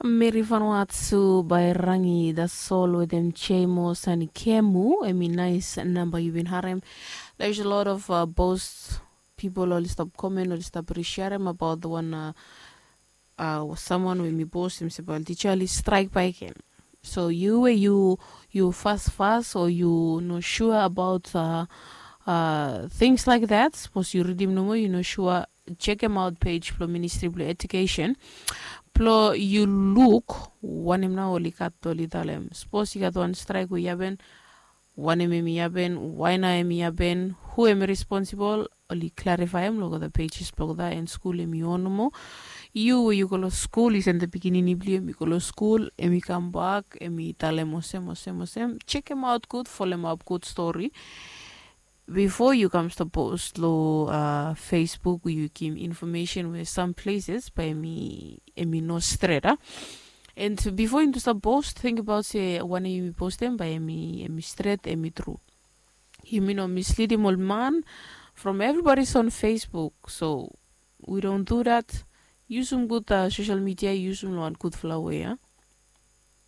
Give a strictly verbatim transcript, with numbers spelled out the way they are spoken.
Meri Vanuatu by Rangi, that's all with them Chemo Sani Kemu, emi nice number you've been harem. There's a lot of uh, boast people oli stop comment, oli stop resharem about the one uh, uh, someone wey mi boast himself about teacher oli strike by again. So you where you you fast fast or you no sure about uh, uh, things like that. Suppose you read him no more, you no sure. Check him out page for Ministry of Education. Plo yu luk wanem na oli gat oli talem. Suppose yu gat wan strike we yu happen, wanem em yu happen, why na em yu happen, who em responsible, oli clarify em lo the pages blog da and school em yu on mo. You we you go lo school is and the beginning of you go lo school em yu come back em yu talem osem osem osem. Check him out good, follow him up good story. Before you come to post lo uh, Facebook, you give information with some places by me emi no straight uh. And before you start post, think about say when you post them by emi emi straight emi true. You mean no mislead him old man from everybody's on Facebook. So we don't do that. Use some good uh, social media, use some one good flower, yeah.